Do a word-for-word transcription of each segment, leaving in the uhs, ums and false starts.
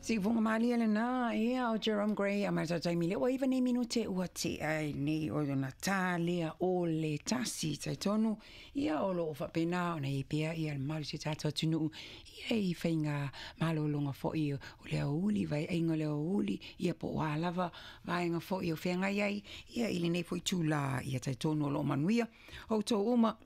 Siufofoga malie lena ia o Jerome Gray a ma le taimi lea ua iva nei minute ua tea ai nei o lona tā lea o le tasi. Talitonu ia o loo faapena ona i pea ia le mamalu o si o tatou atunuu ia i faiga malologa foi o le aoauli, vaeaiga o le aoauli ia po o a lava vaega foi o feagai ai ia i lenei foi itulā. Ia talitonu o loo manuia outou uma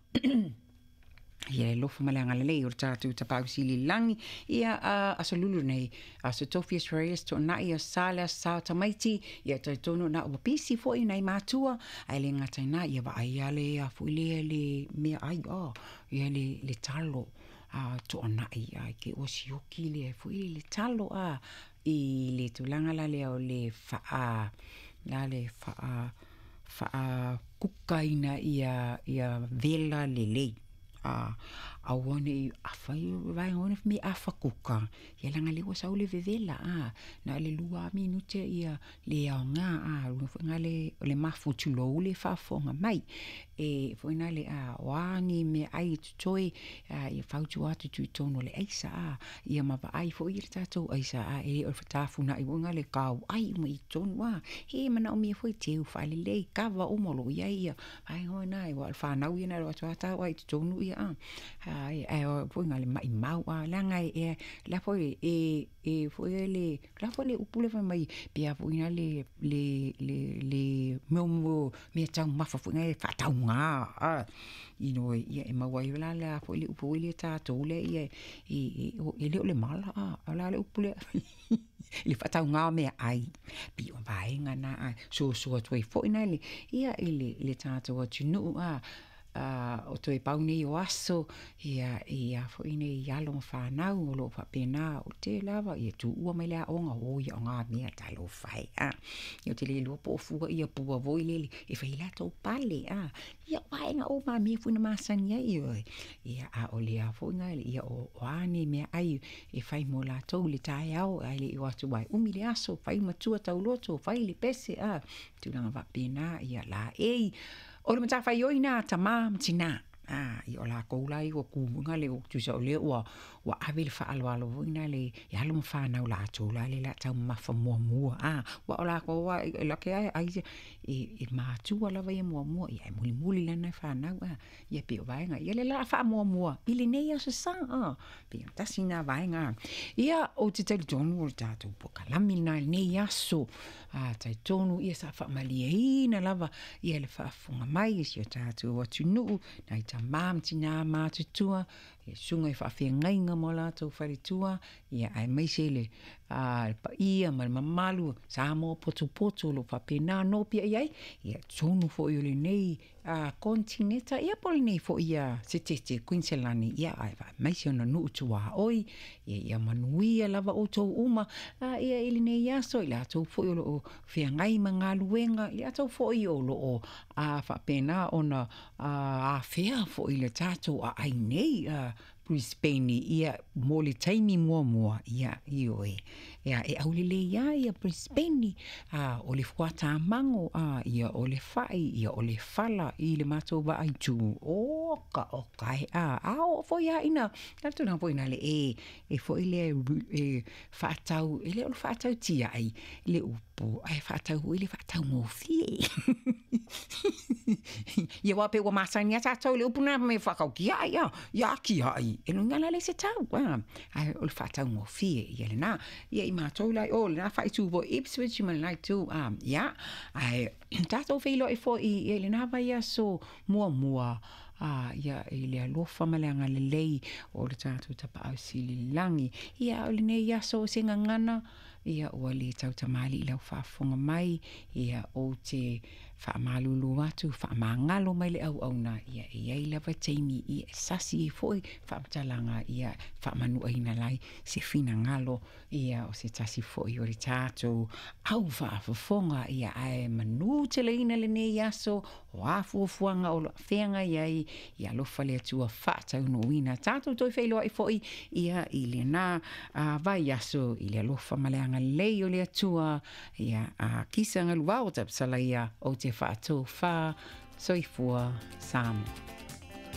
ia le alofa ma le agalelei o le tatou Tapaau Sili i le Lagi. Ia aso Lulu nei, aso Tofi Australia, Toonai o Sa le aso Sa o tamaiti. Ia talitonu na ua pisi foi nai matua, ae le gata i lena ia vaai a le a foi lea le meaai a ia le le talo a toonai ai ke ua sioki le foi le talo a i le tulaga la lea o le faa la le faa faakukaina ia ia vela lelei a aua nei afai vaega ona me afa kuka ia leaga lea ua sau le vevela a na o le lua minute ia le aoga a lona foi lena le o le mafu tulou le faafofoga mai e foi na le a o a ni meaai e totoe a ia fautua atu tuitonu o le aisa a ia ma vaai foi le tatou aisa a e le o le tafunai foi na le kauai uma i totonu a e manaomia foi teu faalelei kava uma o loo iai ia vaega o na e ua o le fanau ia na alu atu a tau ai i totonu ia a ae foi na le maimau a leaga e la foi e e foi le la foi le upu le fai mai pe a foi na le le le le mo mo mea taumafa foi na e faatauga a you know ia e maua ai la la foi le upu le tatou le ia e e le o le mala a o la le upu lea le faatauga o meaai pei o vaega na a soasoa atu ai foi na le ia i le le tatou atunuu a o toe pau nei o aso ia ia foi nei alo ma fanau o loo faapena o le tele lava ia tuua mai le aoga o ia o ngā mea talofa e a ia te le iloa po o fua ia pua foi lele e fai latou pale a ia o vaega uma mea foi na masani ai oe ia a o le a foi na ia o a nei meaai e fai mo latou le taeao ae le i o atu ai umi le aso fai matua tauloto fai le pese a tulaga faapena ia laei o le matafaioi na tamā ma tinā a ia o lakou la ia ua ku le o tusa o lea ua ua ave le faaaloalo foi na le e alo ma fanau latou la le la taumamafa muamua a ua o lakou a e lake a ai e e matua lava ia muamua ia e mulimuli lana fanau a ia pei o vaega ia le la faamuamua i lenei aso Sa a pei o tasi na vaega ia ou te talitonu o le tatou polokalame lena i lenei aso a talitonu ia sa faamalieina lava ia le faafofoga mai i si o tatou atunuu nai tamā ma tinā matutua ia susuga i faafeagaiga ma o latou faletua ia aemaise le a le paia ma le mamalu Samoa potopoto o loo faapena ona opia i ai ia totonu foi o lenei a konetineta ia po o lenei foi ia setete Kuiniselani ia ae faamaise ona nuu tuaoi ia ia manuia lava outou uma a ia i lenei aso i latou foi o loo feagai ma galuega i latou foi o loo a faapena ona afea foi le tatou aai nei a Brisbane ia mo le taimi muamua ia ioe ia e aulelei lava ia Brisbane a o le fuatamago a ia o le fai ia o le fala i le matou vaai tu oka oka e a a oo foi lava ina le tulaga foi lena e e foi lea e faatau e le o le faatau tiai le upu ae faatau foi le faataugofie ia aua pei ua masani lava tatou i le upu lena me faatau tiai a ia tiai e luga la le se tau a ae o le faataugofie ia lena ia i matou la o lena faaitu foi Ipswich ma lena itu a ia ae tatou feiloai foi i lena vaiaso muamua a ia i le alofa ma le agalelei o le tatou Tapaau Sili i le Lagi. Ia o lenei aso o se gagana ia ua le tautamalii i lau faafofoga mai ia ou te faamalulu atu faamagalo mai le auauna ia e i ai lava taimi ia e sasi ai foi faamatalaga ia faamanuaina lai se finagalo ia o se tasi foi o le tatou au faafofoga ia ae manuteleina lenei aso o a fuafuaga o loo feagai ai ia alofa le Atua faataunuuina tatou toe feiloai foi ia i lena vaiaso i le alofa ma le agalelei o le Atua ia a kisa galuvao tapasalaia ou te faatofā soifua Samoa.